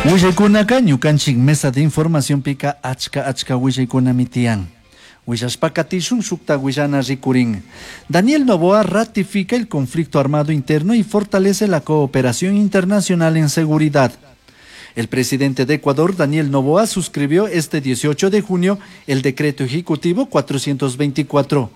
Willaykunaka ñukanchik mesa de informacionpika achka achka willaykunami tiyan. Willashpa katishun shukta willana rikurin. Daniel Noboa ratifica el conflicto armado interno y fortalece la cooperación internacional en seguridad. El presidente de Ecuador, Daniel Noboa, suscribió este 18 de junio el decreto ejecutivo 424,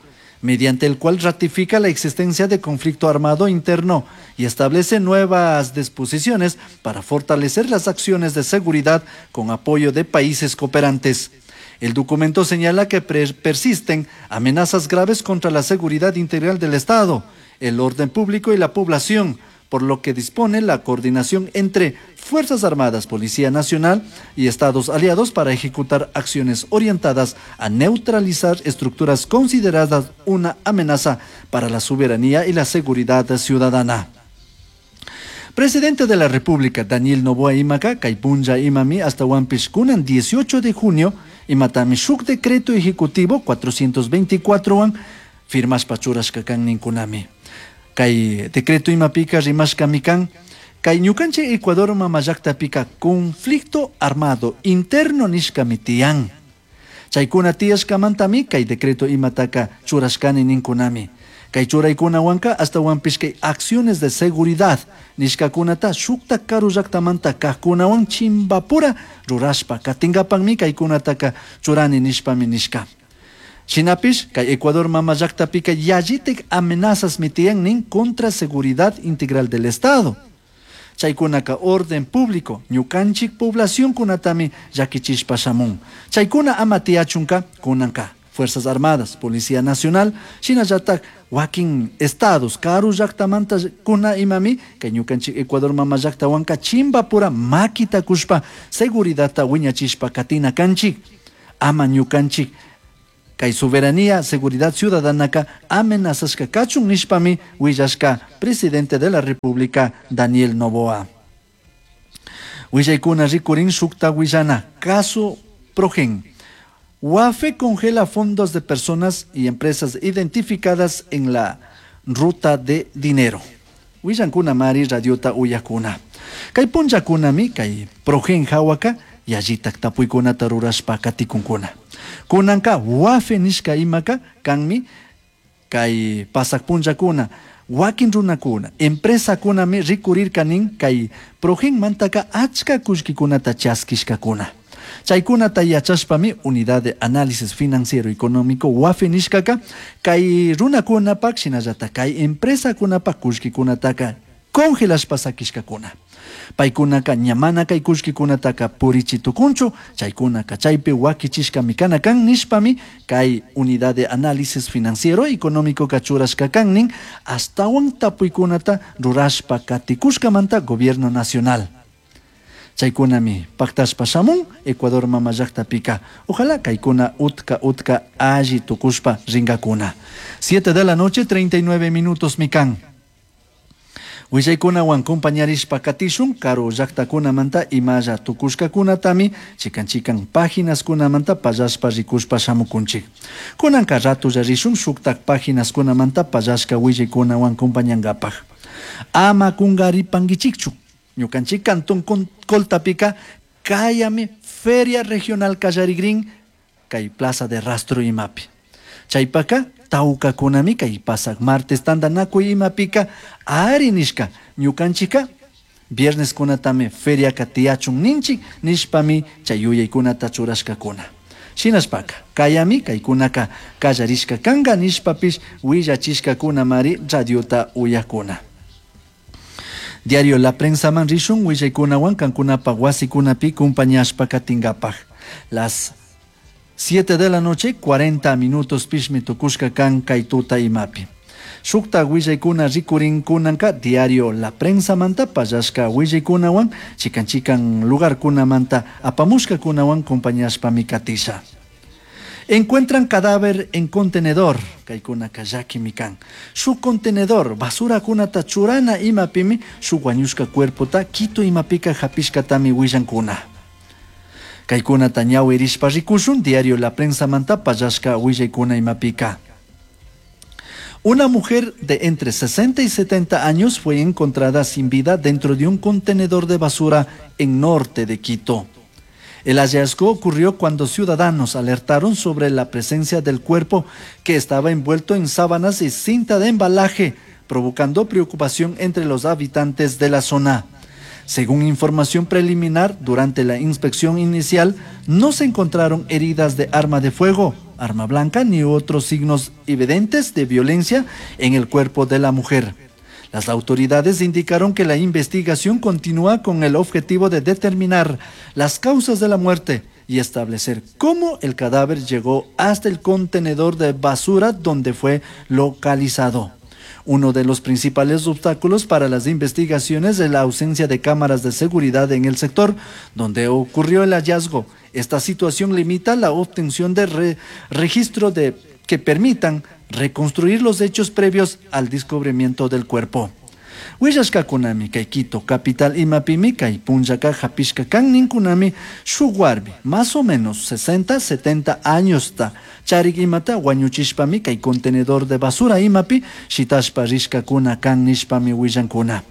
mediante el cual ratifica la existencia de conflicto armado interno y establece nuevas disposiciones para fortalecer las acciones de seguridad con apoyo de países cooperantes. El documento señala que persisten amenazas graves contra la seguridad integral del Estado, el orden público y la población, por lo que dispone la coordinación entre Fuerzas Armadas, Policía Nacional y Estados aliados para ejecutar acciones orientadas a neutralizar estructuras consideradas una amenaza para la soberanía y la seguridad ciudadana. Presidente de la República, Daniel Noboa imaka, kay punlla imami ashtahuanpish kunan 18 de junio, imatami shuk decreto ejecutivo 424 wan firmashpa churashka kan ninkunami. Kay decreto imapika rimashkami kan, kay ñukanchik Ecuador mama llaktapika conflicto armado interno nishkami tiyan. Chaykuna tiyashkamantami kay decreto imataka churashkani ninkunami. Kay churaykunawanka ashtahuanpish kay acciones de seguridad nishkakunata shukta karu llaktamanta kajkunawan chimbapura rurashpa katingapakmi kaykunataka churani nishpami nishka. Shinapish kay Ecuador mama llaktapika yallitik amenazas tiyan nin contra seguridad integral del Estado. Chaykunaka orden público, ñukanchik población kunatami llakichishpa shamun. Chaykuna ama tiyachunka kunanka. Fuerzas Armadas, Policía Nacional, shinallatak wakin estados, karu llaktamanta kuna imami, kay ñukanchik Ecuador mama llaktawanka chimbapura makita kushpa seguridadta wiñachishpa katina kanchik. Ama ñukanchik kay soberanía, seguridad ciudadanaka amenazashka kachun nishpami willashka presidente de la República, Daniel Noboa. Willaykuna rikurin shukta willana, caso Progen. UAFE congela fondos de personas y empresas identificadas en la ruta de dinero. Willankuna mari radiota uyakuna. Kay punllakunami kay Progen hawaka yallitak tapuykunata rurashpa katikunkuna. Kunanka UAFE nishka imaka kanmi kay pasak punllakuna wakin runakuna empresakunami rikurirka nin kay Progen mantaka achka kullkikunata chaskishkakuna. Chaykunata yachashpami Unidad de Análisis Financiero Económico UAFE nishkaka kay runakunapak shinallatak kay empresakunapak kullkikunataka congelashpa sakishkakuna. Paykunaka ña mana kay kullkikunataka purichi tukunchu, chaykunaka chaypi wakichishkami kana kan nishpami kay Unidad de Análisis Financiero Económico churashka kan nin ashtawan tapuykunata rurashpa katikushkamanta Gobierno Nacional. Chaykunami paktashpa shamun Ecuador mama llaktapika. Ojalá kaykuna utka utka alli tukushpa ringakuna. 7 de la noche, 39 minutos mikan. Willaykunawan compañarishpa katishun karu llaktakunamanta imalla tukushkakunatami chikan chikan paginaskunamanta pallashpa rikushpa shamukunchik. Kunanka ratulla rishun shuktak paginaskunamanta pallashka willaykunawan compañankapak. Ama kungaripankichikchu. Ñukanchik Cantón Coltapika kayami Feria Regional Kallarigrin kay Plaza de Rastro imapi. Chaypaka tawkakunami kay pasak martes tantanakuy imapika ari nishka ñukanchika viernes kunatami feriaka tiyachun ninchik nishpami chay yuyaykunata churashkakuna. Shinashpaka kayami kaykunaka kallarishka kanka nishpapish willachishkakunamari radiota uyakuna. Diario La Prensa man rishun willaykunawan kankunapa wasikunapi kumpañashpa katinkapak. Las 7 de la noche, 40 minutos pishmi tukushka kan kay tuta imapi. Shukta willaykuna rikurin kunanka diario La Prensa manta pallashka willaykunawan chikan chikan lugarkunamanta apamushkakunawan compañashpami katisha. Encuentran cadáver en contenedor, kaykunaka llakimi kan. Shuk contenedor, basurakunata churana imapimi, shuk wañushka cuerpota Quito imapika hapishkatami willankuna. Kaykunata ñawirishpa rikushun, diario La Prensa manta pallashka willaykuna imapika. Una mujer de entre 60 y 70 años fue encontrada sin vida dentro de un contenedor de basura en norte de Quito. El hallazgo ocurrió cuando ciudadanos alertaron sobre la presencia del cuerpo que estaba envuelto en sábanas y cinta de embalaje, provocando preocupación entre los habitantes de la zona. Según información preliminar, durante la inspección inicial no se encontraron heridas de arma de fuego, arma blanca ni otros signos evidentes de violencia en el cuerpo de la mujer. Las autoridades indicaron que la investigación continúa con el objetivo de determinar las causas de la muerte y establecer cómo el cadáver llegó hasta el contenedor de basura donde fue localizado. Uno de los principales obstáculos para las investigaciones es la ausencia de cámaras de seguridad en el sector donde ocurrió el hallazgo. Esta situación limita la obtención de registro de, que permitan reconstruir los hechos previos al descubrimiento del cuerpo. Willashkakunami kay Quito capital imapimi kay punllaka hapishka kan ninkunami shuk warmi más o menos 60 70 añosta charik imata wañuchishpami kay contenedor de basura imapi shitashpa rishkakuna kan nishpami willankuna.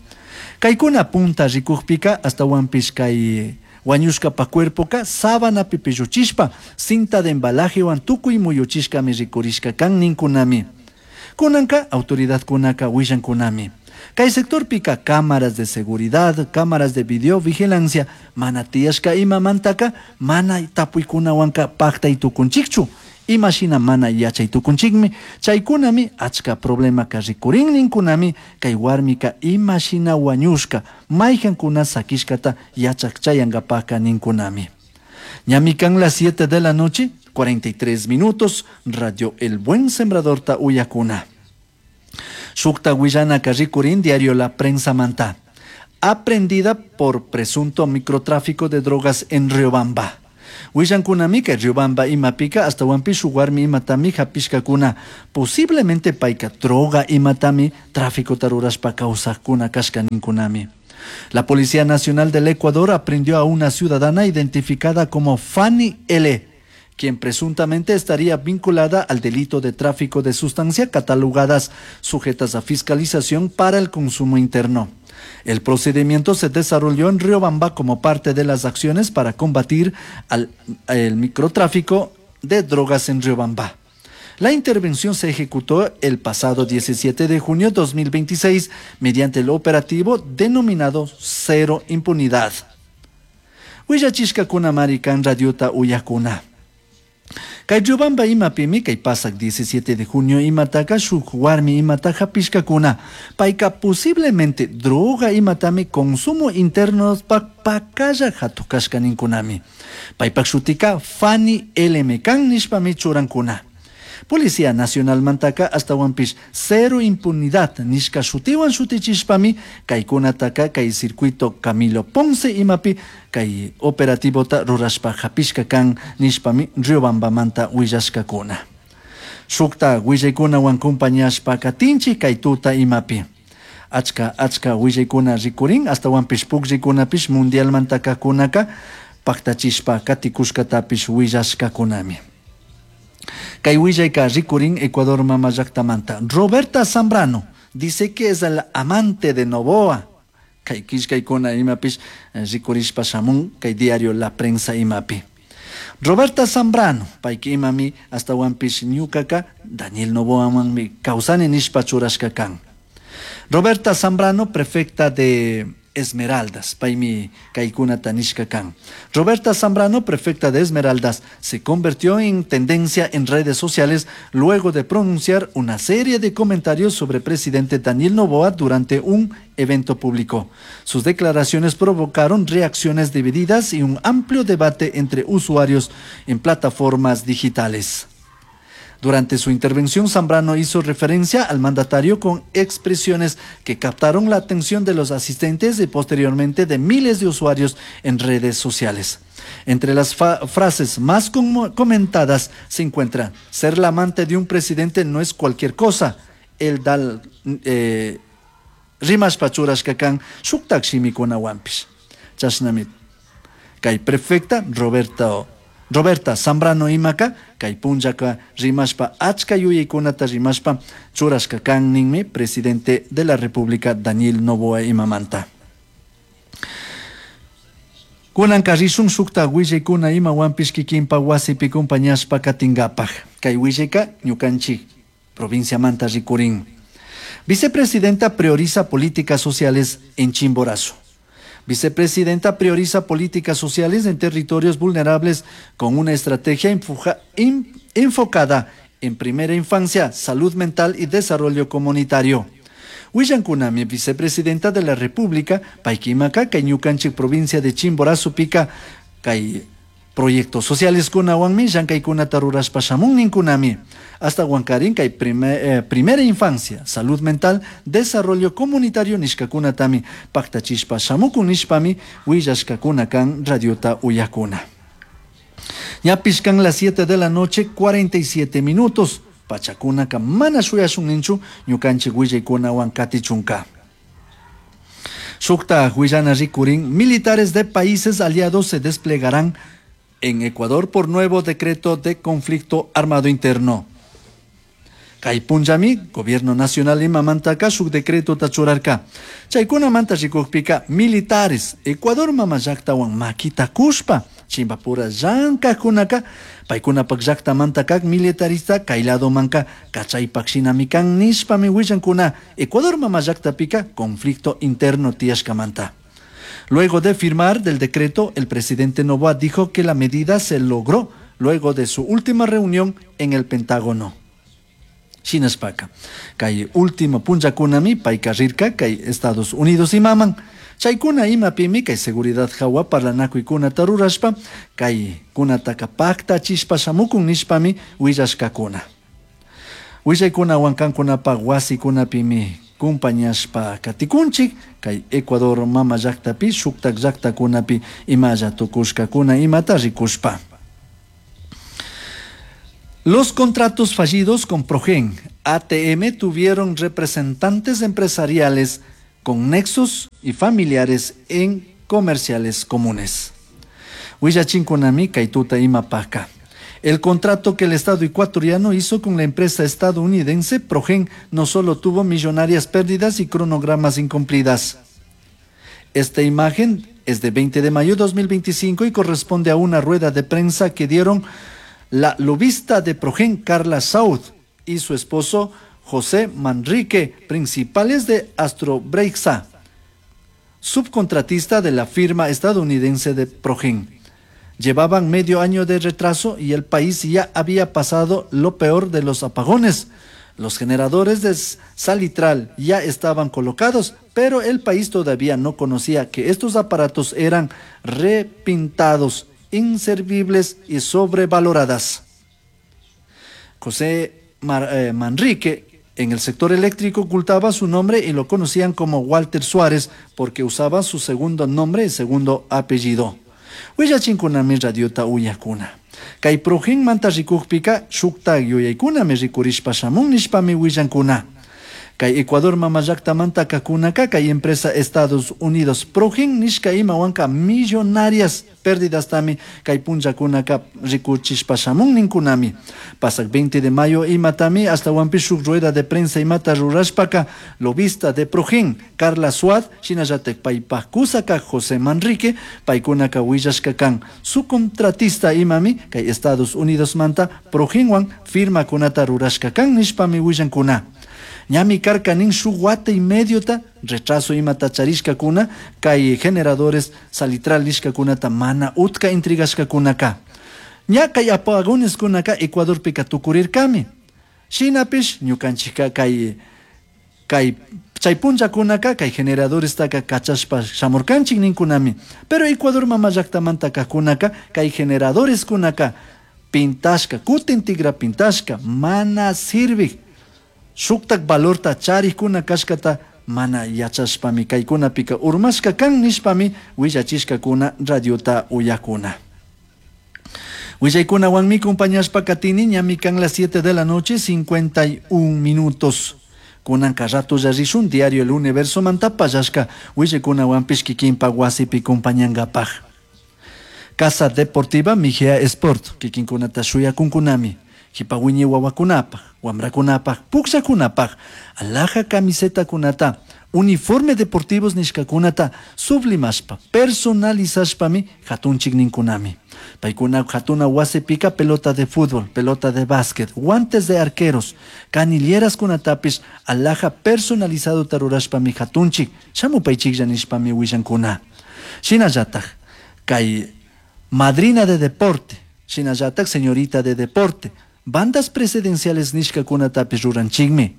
Kaykuna punta rikukpika ashtawanpish kay wañushkapa cuerpoka sábanapi pilluchishpa cinta de embalajewan tukuy muyuchishkami rikurishka kan ninkunami. Kunanka autoridadkunaka willankunami. Kay sectorpika cámaras de seguridad, cámaras de videovigilancia, mana tiyashka imamantaka mana tapuykunawanka paktay tukunchikchu. Imashina mana yachay tukunchikmi, chaykunami achka problemaka rikurin ninkunami, kay warmika imashina wañushka, mayhankuna sakishkata yachak chayankapaka ninkunami. Ñami kan las 7 de la noche, 43 minutos, Radio El Buen Sembrador ta uyakuna. Shukta willanaka rikurin diario La Prensa Manta. Aprendida por presunto microtráfico de drogas en Riobamba. Willankunami kay Riobamba imapika ashtawanpish shuk warmi imatami hapishkakuna. Posiblemente payka droga imatami tráfico rurashpa kawsakuna kashka ninkunami. La Policía Nacional del Ecuador aprehendió a una ciudadana identificada como Fanny L., quien presuntamente estaría vinculada al delito de tráfico de sustancias catalogadas sujetas a fiscalización para el consumo interno. El procedimiento se desarrolló en Riobamba como parte de las acciones para combatir al, el microtráfico de drogas en Riobamba. La intervención se ejecutó el pasado 17 de junio de 2026 mediante el operativo denominado Cero Impunidad. Willachishkakuna kan radiota uyakuna. Kay Riobamba imapimi kay pasak 17 de junio imataka shuk warmi imata hapishkakuna. Payka posiblemente droga imatami consumo interno pakalla hatukashka ninkunami. Paypak shutika Fanny L. kan nishpami churankuna. Policía Nacional mantaka ashtawanpish cero impunidad nishka shutiwan shutichishpami kaykunataka kay circuito Camilo Ponce imapi kay operativota rurashpa hapishka kan nishpami Riobambamanta willashkakuna. Shukta willaykunawan compañashpa katinchik kay tuta imapi. Achka achka willaykuna rikurin ashtawanpish pukllaykunapish mundialmantaka kunaka paktachishpa katikushkatapish willashkakunami. Kay willayka rikurin Ecuador mama llaktamanta. Roberta Zambrano dice que es el amante de Noboa. Kay killkaykuna imapish rikurishpa shamun kay diario La Prensa imapi. Roberta Zambrano, payka imami ashtawanpish ñukaka Daniel Noboamanmi kawsani nishpa churashka kan. Roberta Zambrano, prefecta de Esmeraldas, paymi kaykunata nishka kan. Roberta Zambrano, prefecta de Esmeraldas, se convirtió en tendencia en redes sociales luego de pronunciar una serie de comentarios sobre el presidente Daniel Noboa durante un evento público. Sus declaraciones provocaron reacciones divididas y un amplio debate entre usuarios en plataformas digitales. Durante su intervención, Zambrano hizo referencia al mandatario con expresiones que captaron la atención de los asistentes y posteriormente de miles de usuarios en redes sociales. Entre las frases más comentadas se encuentra: ser la amante de un presidente no es cualquier cosa. El dal rimashpa churashka kan shuktak shimikunawanpish. Chashnami kay prefecta Roberto Roberta Zambrano imaka kay punllaka rimashpa achka yuyaykunata rimashpa churashka kan ninmi presidente de la República Daniel Noboa imamanta. Kunanka rishun shukta willaykuna imawanpish kikinpa wasipi compañashpa katinkapak. Kay willayka ñukanchik provinciamanta rikurin. Vicepresidenta prioriza políticas sociales en Chimborazo. Vicepresidenta prioriza políticas sociales en territorios vulnerables con una estrategia enfocada en primera infancia, salud mental y desarrollo comunitario. Willankunami, vicepresidenta de la República, paykimaka, kay ñukanchik provincia de Chimborazo pika, kay proyectos sociales kunawanmi llankaykunata rurashpa shamun ninkunami. Ashtawankarin kay primera infancia, salud mental, desarrollo comunitario nishkakunatami paktachishpa shamukun nishpami willashkakuna kan radiota uyakuna. Ñapish kan las 7 de la noche, 47 minutos. Pachakunaka mana shuyashun ninchu ñukanchik willaykunawan katichunka. Shukta willana rikurin, militares de países aliados se desplegarán en Ecuador por nuevo decreto de conflicto armado interno. Kay punllami, Gobierno Nacional imamantaka shuk decreto churarka. Chaykunamanta rikukpika militares Ecuador mama llaktawan makita kushpa chimbapura llankajkunaka paykunapak llaktamanta kak militarista kay ladomanka kachaypak shinami kan nishpami willankuna Ecuador mama llaktapika conflicto interno tiyashkamanta. Luego de firmar del decreto, el presidente Noboa dijo que la medida se logró luego de su última reunión en el Pentágono. Shinashpaka, kay último punllakunami payka rirka kay Estados Unidos imaman. Chaykuna imapimi kay seguridad hawa parlanakuykunata rurashpa kay kunataka paktachishpa shamukun nishpami willashkakuna. Willaykunawan kankunapak wasikunapimi kumpañashpa katikunchik kay Ecuador mama llaktapi shuktak llaktakunapi imalla tukushkakuna imata rikushpa. Los contratos fallidos con Progen, ATM tuvieron representantes empresariales con nexos y familiares en comerciales comunes. Willachinkunami kaytuta imapaka. El contrato que el Estado ecuatoriano hizo con la empresa estadounidense Progen no solo tuvo millonarias pérdidas y cronogramas incumplidas. Esta imagen es de 20 de mayo de 2025 y corresponde a una rueda de prensa que dieron la lobista de Progen, Carla Saud, y su esposo José Manrique, principales de Astrobreixa, subcontratista de la firma estadounidense de Progen. Llevaban medio año de retraso y el país ya había pasado lo peor de los apagones. Los generadores de Salitral ya estaban colocados, pero el país todavía no conocía que estos aparatos eran repintados, inservibles y sobrevaloradas. José Manrique, en el sector eléctrico, ocultaba su nombre y lo conocían como Walter Suárez porque usaba su segundo nombre y segundo apellido. Willachinkunami radiota uyakuna. Kay Progen manta rikukpika shukta yuyaykunami rikurishpa shamun nishpami willankuna. Kay Ecuador mama llaktamanta kakunaka kay empresa Estados Unidos Progen nishka imawanka millonarias pérdidas tami kay punllakunaka rikuchishpa shamun ninkunami. Pasak 20 de mayo imatami hasta shuk rueda de prensa imata rurashpaka lobista de Progen Carla Suad shinallatak paypak kusaka José Manrique paykunaka willashka kan su contratista imami kay Estados Unidos manta Progenwan firma kunata rurashka kan nishpami willankuna. Ñami karka nin shuk wata y mediota retraso imata charishkakuna kay generadores salitral nishkakunata mana utka intrigashkakunaka. Ña kay apagones kunaka Ecuadorpika tukurirkami. Shinapish ñukanchika kay kay chay punllakunaka kay generadores taka kachashpa shamurkanchik ninkunami. Pero Ecuador mama llaktamanta kakunaka kay generadores kunaka pintashka kutin tigra pintashka mana sirvik shuktak valorta charikuna kashkata mana yachashpami kaykunapika urmashka kan nishpami willachishkakuna radiota uyakuna. Willaykunawanmi compañashpa katini ñami kan las 7 de la noche 51 minutos. Kunanka rato rishun diario El Universo manta pallashka willaykunawanpish kikinpa wasipi compañankapaj. Casa Deportiva Mejía Sport, kikinkunata shuyakunkunami, jipa wiñay wawakunapaj, wamrakunapaj, pukllakunapaj, alhaja camisetakunata, uniforme deportivos nishkakunata sublimashpa, personalizashpami hatunchik ninkunami. Paykuna hatuna wasipika pelota de fútbol, pelota de básquet, guantes de arqueros, canilleras kunatapish alhaja personalizado rurashpami hatunchik, shamupaychiklla nishpami willankuna. Shinallataj, kay madrina de deporte, shinallataj señorita de deporte, bandas presidenciales nishkakunatapish ruranchikmi.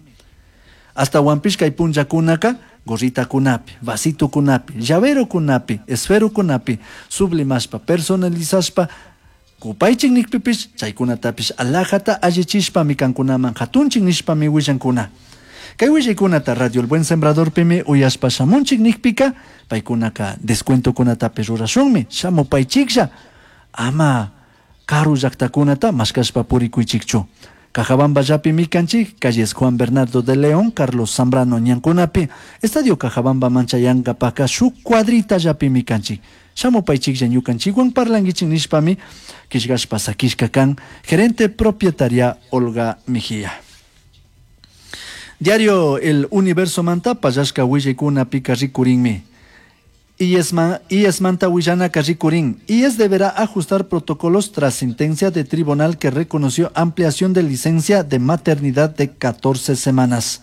Hasta kay punllakunaka gorritakunapi, vasitukunapi, llaverokunapi, esferokunapi, sublimashpa, personalizashpa, kupaychik nikpipish, chaykunatapish alhajata allichishpami kankunaman hatunchik nishpami willankuna. Kay willaykunata Radio El Buen Sembradorpimi uyashpa shamunchik nikpika, paykunaka descuentokunatapish rurashunmi, shamupaychiklla, ama karu llaktakunata mashkashpa purikuychikchu. Cajabamba llapimi kanchik, calles Juan Bernardo de León, Carlos Zambrano ñankunapi, Estadio Cajabamba manchayankapaka shuk cuadrita llapimi kanchik. Shamupaychiklla ñukanchikwan parlankichik nishpami killkashpa sakishka kan gerente propietaria Olga Mejía. Diario El Universo manta pallashka willaykunapika rikurinmi. IES manta willanaka rikurin. IES deberá ajustar protocolos tras sentencia de tribunal que reconoció ampliación de licencia de maternidad de 14 semanas.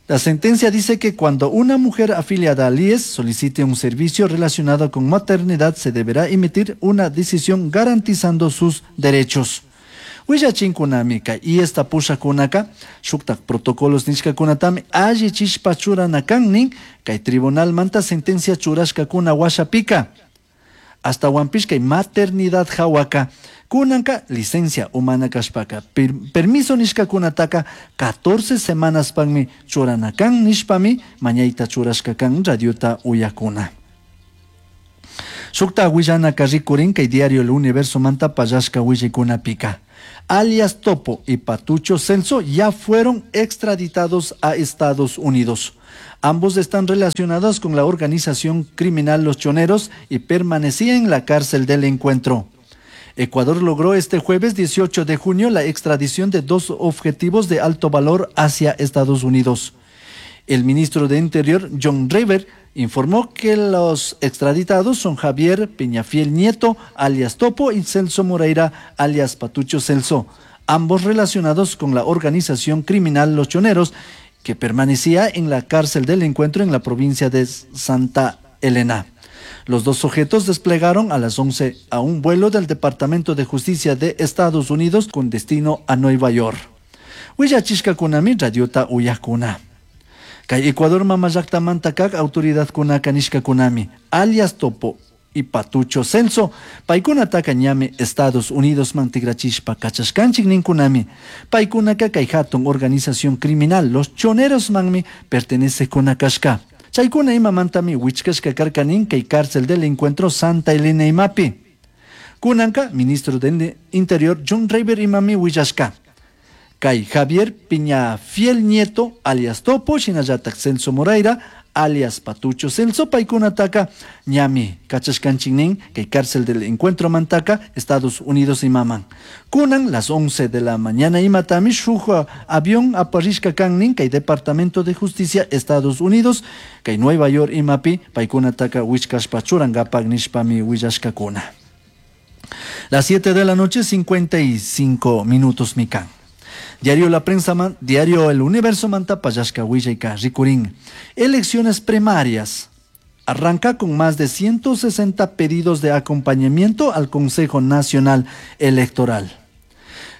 La sentencia dice que cuando una mujer afiliada al IES solicite un servicio relacionado con maternidad, se deberá emitir una decisión garantizando sus derechos. Willachinkunami kay IESta pushakunaka shuktak protocolos nishkakunatami allichishpa churana kan nin kay tribunal manta sentencia churashkakuna washapika. Ashtawanpish kay maternidad hawaka kunanka licencia umana kashpaka permiso nishkakunataka 14 semanas panmi churana kan nishpami mañayta churashka kan radiota uyakuna. Shukta willanaka rikurin kay diario El Universo manta pallashka willaykunapika. Alias Topo y Patucho Celso ya fueron extraditados a Estados Unidos. Ambos están relacionados con la organización criminal Los Choneros y permanecían en la cárcel del Encuentro. Ecuador logró este jueves 18 de junio la extradición de dos objetivos de alto valor hacia Estados Unidos. El ministro de Interior, John River, informó que los extraditados son Javier Peñafiel Nieto, alias Topo, y Celso Moreira, alias Patucho Celso, ambos relacionados con la organización criminal Los Choneros, que permanecía en la cárcel del Encuentro en la provincia de Santa Elena. Los dos sujetos desplegaron a las 11 a un vuelo del Departamento de Justicia de Estados Unidos con destino a Nueva York. Willachishkakunami radiota uyakuna. Kay Ecuador mamallaktamanta kak autoridadkunaka nishkakunami, alias Topo y Patucho Celso, paykunataka ñami Estados Unidos man tikrachishpa kachashkanchik ninkunami. Paykunaka kay hatun organización criminal Los Choneros manmi pertenecekuna kashka. Chaykuna imamantami wichkashka karka nin kay cárcel del Encuentro Santa Elena imapi. Kunanka, ministro de Interior John Rayber imami willashka. Kay Javier Peñafiel Nieto, alias Topo, shinallatak Celso Moreira, alias Patucho Celso, paykunataka ñami kachashkanchik nin kay cárcel del Encuentro mantaka, Estados Unidos imaman. Kunan las 11 de la mañana imatami shuk avión aparishka kan nin kay Departamento de Justicia Estados Unidos, kay Nueva York imapi paykunataka wichkashpa churankapak nishpami willashkakuna. Las 7 de la noche, 55 minutos mikan. Diario La Prensa, Diario El Universo manta pallashka willayka rikurin. Elecciones primarias. Arranca con más de 160 pedidos de acompañamiento al Consejo Nacional Electoral.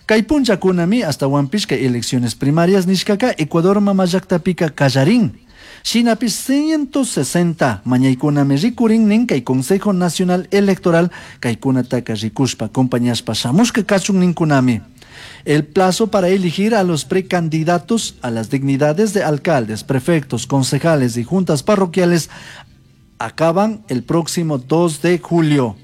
Kay punllakunami ashtawanpish kay elecciones primarias nishkaka Ecuador mamallaktapika kallarin. Shinapish 160 mañaykunami rikurin nin kay Consejo Nacional Electoral kaykunataka rikushpa acompañashpa shamushka kachun ninkunami. El plazo para elegir a los precandidatos a las dignidades de alcaldes, prefectos, concejales y juntas parroquiales acaban el próximo 2 de julio.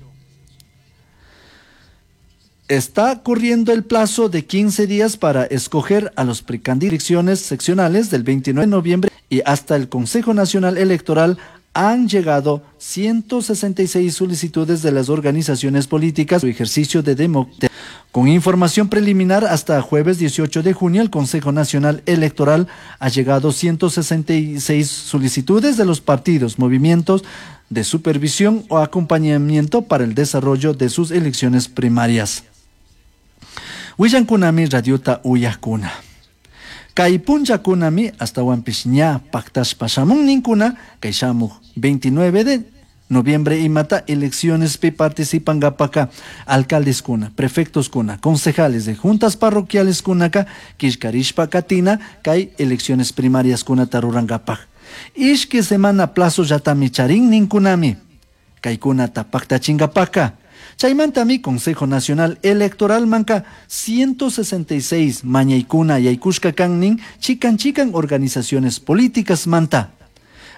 Está corriendo el plazo de 15 días para escoger a los precandidatos seccionales del 29 de noviembre y hasta el Consejo Nacional Electoral han llegado 166 solicitudes de las organizaciones políticas su ejercicio de democracia. Con información preliminar hasta jueves 18 de junio, el Consejo Nacional Electoral ha llegado 166 solicitudes de los partidos, movimientos de supervisión o acompañamiento para el desarrollo de sus elecciones primarias. Willankunami radiota uyakuna. Kay punllakunami astawanpish ña pactashpa shamun ninkuna kay shamuj 29 de noviembre imata eleccionespi participankapaka alcaldeskuna, prefectoskuna, concejales de juntas parroquiales kunaka killkarishpa katina kay elecciones primarias kunata rurankapak. Ishki semana plazo llatami charin ninkunami. Kaykunata pactachinkapaka. Chaymantami Consejo Nacional Electoral manka 166 mañaykuna yaykushka kan nin chikan chikan organizaciones políticas manta.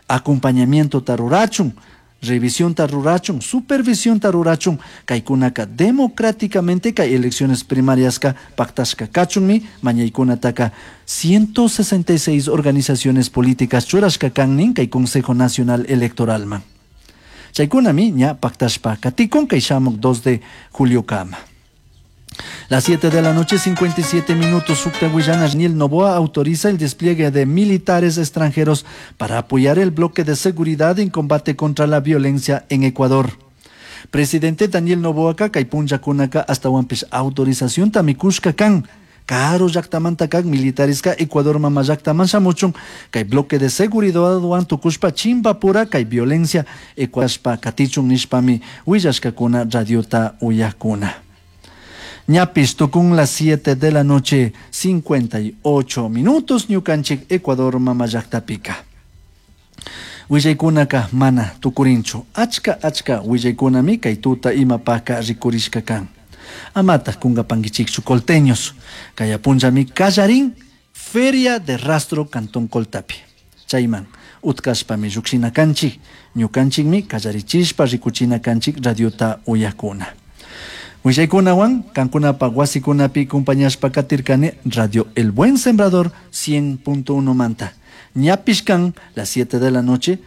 Acompañamiento tarurachun, revisión tarurachun, supervisión tarurachun, kaykunaka democráticamente kay elecciones primarias ka pactashka kachunmi mañaykunataka 166 organizaciones políticas churashka kan nin kay Consejo Nacional Electoral man. Chaykunami ña pactashpa katikun kay shamuk 2 de julio kama. Las 7 de la noche, 57 minutos, Sukta Willana Daniel Noboa autoriza el despliegue de militares extranjeros para apoyar el bloque de seguridad en combate contra la violencia en Ecuador. Presidente Daniel Noboa kay punllakunaka astawanpish autorización tamikushka kan. Karu llaktamanta kak militareska Ecuador mama llaktaman shamuchun kay bloque de seguridad wan tukushpa chimpapura kay violencia Ecuadorpa katichun nishpami willashkakuna radiota uyakuna. Ñapis tukun las 7 de la noche, 58 minutos, ñukanchik Ecuador mama llaktapika. Willaykunaka mana tukurinchu, achka achka willaykunami kay tuta imapaka rikurishka kan. Amata kungapankichikchu colteños, kay apunllami kallarin Feria de Rastro Cantón Coltapi. Chayman, utkashpami llukshina kanchik, ñukanchikmi kallarichishpa rikuchina kanchik radiota uyakuna. Willaykunawan, kankunapa wasikunapi compañashpa katirkani Radio El Buen Sembrador 100.1 manta. Ñapish kan, las 7 de la noche.